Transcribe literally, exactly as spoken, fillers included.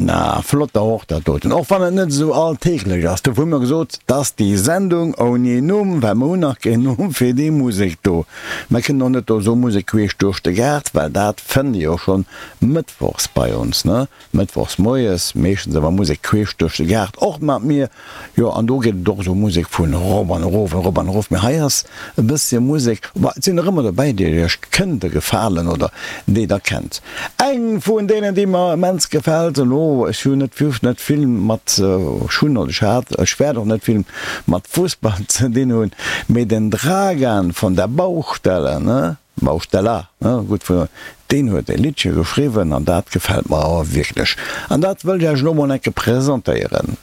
Na, flott och dat doten. Och wann et net esou alltäglech ass. Dofir hu mer gesot, dass déi Sendung ouni Numm, well mer hunn nach keen Numm fir déi Musek do. Mer kënnen och net do esou Musek queesch duerch de Gaart, well dat fënnt Dir jo schonn mëttwochs bei ons, ne? Mëttwochs moies, meeschtens awer Musek queesch duerch de Gaart, och mat mir. Jo, an do geet et och esou Musek vun erop an erof, erop an erof. Mee hei ass e bëssche Musek, bon, et sinn der ëmmer dobäi, déi Iech kënnte gefalen oder déi Der kennt. Eng vun deenen, déi mer immens gefält, elo, ech hunn net net vill mat, ech hunn oder ech hat, ech wäert och net vill mat Fussball ze dinn hunn, mee den Dragan von der Baustelle, ne? Baustella, ne, gutt vun, deen huet e Liddche geschriwwen an dat gefält mer awer wierklech. An dat wëll ech Iech elo mol enke presentéieren.